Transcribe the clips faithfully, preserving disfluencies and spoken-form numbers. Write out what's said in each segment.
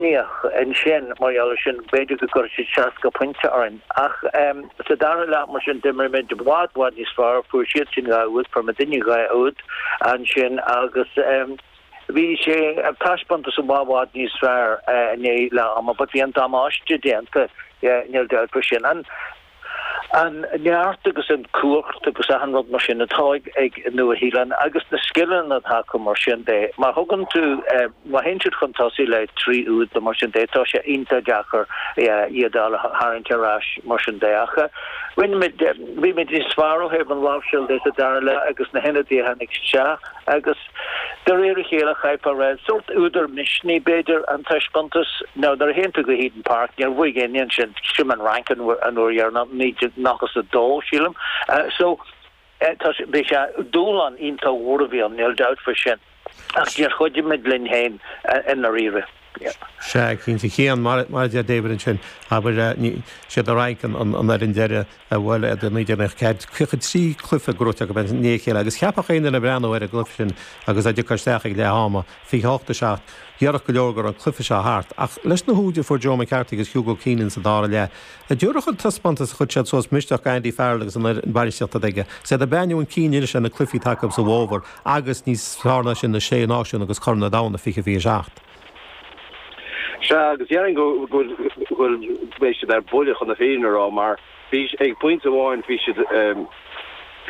Níoch ansin mar gheall sin b'fhéidir go gcuirfeadh siad seasca pointe orainn ach um, sa dara leath mar sin d'imir muid i bhfad bhfad níos fearr fuair siad sin dhá úd fuair muidinne dhá úd ansin agus um, bhí sé taispeántas i bhfad níos fearr uh, inné le ama, but bhí an damáiste déanta níl dabht faoi sin. An an neart agus an cumhacht agus an rud mar sin atá ag Nua-Shéalainn agus na scileanna atá acu mar sin de. Má thugann tú eh, má théann siad chun tosaigh le trí úd mar sin de tá sé iontach deacair iad a tharraingt ar ais mar sin de ach. Rinne bhí muid níos fearr ó thaobh an láimhseáil de sa dara leath agus na hionadaithe tháinig isteach agus de réir a chéile chaithfear rá sórt údar misnigh b'fhéidir an taispeántas nó nuair a théann tú go Eden Park níor bhuaigh éinne sin sin an Fhrainc an uair dheireanach nócha a dó sílim uh, so uh, bhí sé dúshlán iontach mhór a bhí ann níl dabht faoi sin ach níor chuidigh muid linn féin uh, i ndáiríre. Sé cinnte chéan mar mar de David ansin abair sé an Fhrainc an an ar an deireadh a bhfuil a naoi déag ceathracha trí cluiche gnóthaithe go ben ní chéile agus cheapfadh aon duine breathnú ar an gcluiche sin agus a isteach ag leath ama fiche hocht a seacht Dhearach go leor gur an cluiche seo thart ach leis na húid a fuair Joe McCarthy agus Hugo Keenan sa dara leath. A dúrach an taispeántas chuir siad suas misneach Andy Farrell agus an bhainistíocht aige. Sé a beú an cíine se na cluichí acu sa bhfómhar agus níos fearr ná sin na sé náisiún agus Corn an Domhain fiche fiche seacht. Se agus dhéarfainn go bhfuil beidh siad ar buile chun na fírinne a rá mar bhí ag pointe amháin bhí siad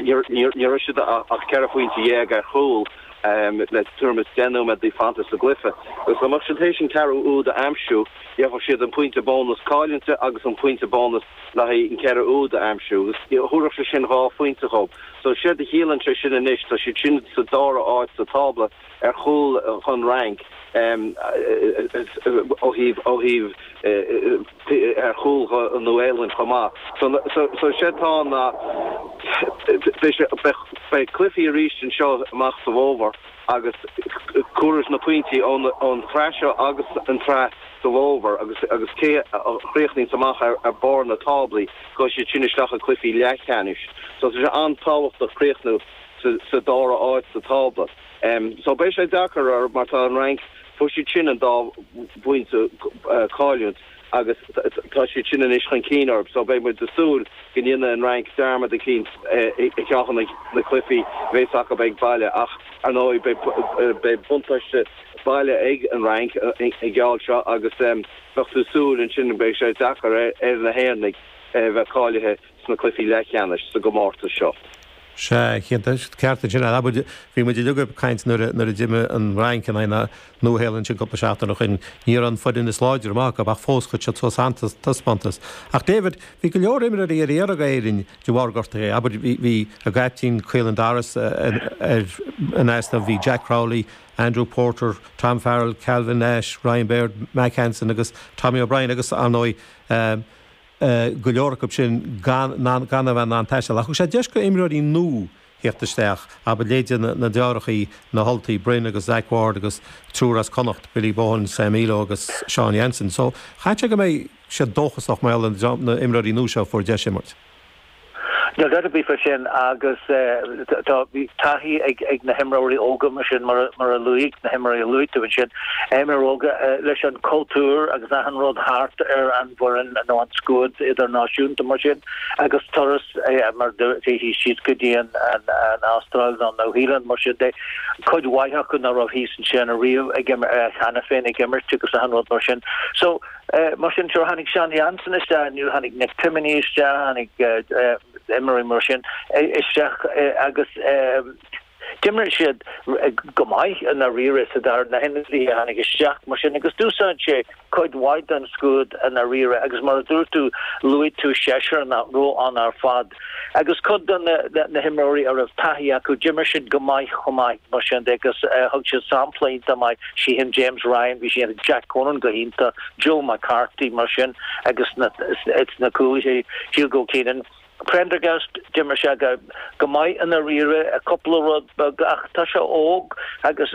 ní raibh siad ach ceithre phointe dhéag ar chúl le tuairim is deich nóiméad fanta sa gcluiche. Agus amach sin théis an ceathrú úd a aimsiú, gheobhadh siad an pointe bónus cáilíochta agus an pointe bónus le haghaidh an ceathrú úd a aimsiú. Thabharfadh sé sin dhá phointe dóibh. So sé a chiallaíonn sé sin anois tá siad sin sa dara áit sa tábla ar chúl chun Fhrainc ó thaobh ó thaobh ar chúl an Nua-Shéalainn chomh maith. So sé tá na beidh cluichí arís anseo amach sa bhfómhar agus cuaras na pointí ón tsraith seo agus an tsraith sa bhfómhar agus agus cé a chríochnaíonn amach ar ar barr na táblaí go siad sin isteach i gcluichí leathcheannais. So sé an-tábhachtach críochnú sa dara áit sa tábla. Um, so beidh sé deacair ar mar tá an Fhrainc fuair siad sin an dá phointe uh, cáilíocht agus tá siad sin anois chun cinn orthu, so beidh muid ag súil go ndéanfaidh an Fhrainc dearmad eicínt i gceann na cluichí bheas acu ag baile ach ar ndóigh beidh buntáiste baile ag an Fhrainc i gceal seo agus um, bheadh tú ag súil ansin beidh sé deacair ar na hÉireannaigh bheith cáilithe sna cluichí leathcheannais sa gcomórtas seo. Se ceart sin a bhí muid ag caint nuair a d'imir an Fhrainc in aghaidh na Nua-Shéalainne sin cúpla seachtain ó shin ní an foireann is láidre amach ach fós chuir siad suas an-taispeántas. Ach David bhí go leor imreoirí ar iarraidh Éirinn de bharr gortuithe abair bhí a gcaiptín Caelan Doris ar an easnamh bhí Jack Crowley, Andrew Porter, Tom Farrell, Calvin Nash, Ryan Baird, Mack Hansen agus Tommy O'Brien agus ar ndóigh um, Uh, go leor acu sin gan gan a bheith an taisteal. Ach sé deis go imreoirí nua theacht isteach abair leithéidí na, na deartháireacha na hUltaigh Bryn agus Zach Ward agus triúr as Connacht, Billy Bohan, Sam Illo agus Sean Jansen. So chaithfeadh go mbeidh sé dóchasach mar na imreoirí nua seo fuair deis imirt. Níl dabht ar bith faoi sin agus tá bhí taithí ag ag na himreoirí óga mar sin mar mar a luaigh na himreoirí luaigh tú sin imreoirí óga leis an cultúr agus an rud thart ar an bhfoireann nó an scuad idirnáisiúnta mar sin agus turas mar bhí siad go dtí an an Astráil nó Nua-Shéalainn mar sin de cuid mhaith acu nach raibh thíos ansin ariamh ag cheana féin ag imirt agus an rud mar sin. So uh, mar sin sure tháinig Sean Jansen isteach nu tháinig Nick Timoney isteach tháinig uh, imreoirí mar sin isteach agus d'imir siad go maith i ndáiríre sa dar na hionadaithe tháinig isteach mar sin agus d'úsáid sé cuid mhaith den scuad i ndáiríre agus mar a dúirt tú luaigh tú seisear nach raibh ann ar fad. Agus cuid de na, na, na himreoirí a raibh taithí acu d'imir siad go maith chomh maith mar sin agus uh, thug siad sampla maith sí hin James Ryan, bhí sí Jack Conan go hiontach, Joe McCarthy mar sin agus na, it's na cúlaithe Hugo Keenan. Prendergast d'imir sé go go maith i ndáiríre a cúpla rud ach tá sé óg agus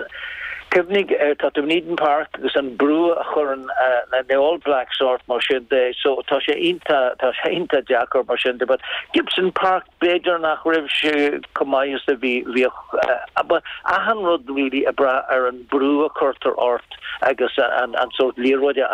Cuimhnigh tá tú in Eden Park agus an brú a chuireann na All Blacks ort mar sin de so tá sé iontach tá sé iontach deacair mar sin de but Gibson Park b'fhéidir nach raibh sé chomh maith is a bhí bhíodh but achan rud really ag brath ar an brú a chuirtear ort agus an an sórt liathróid a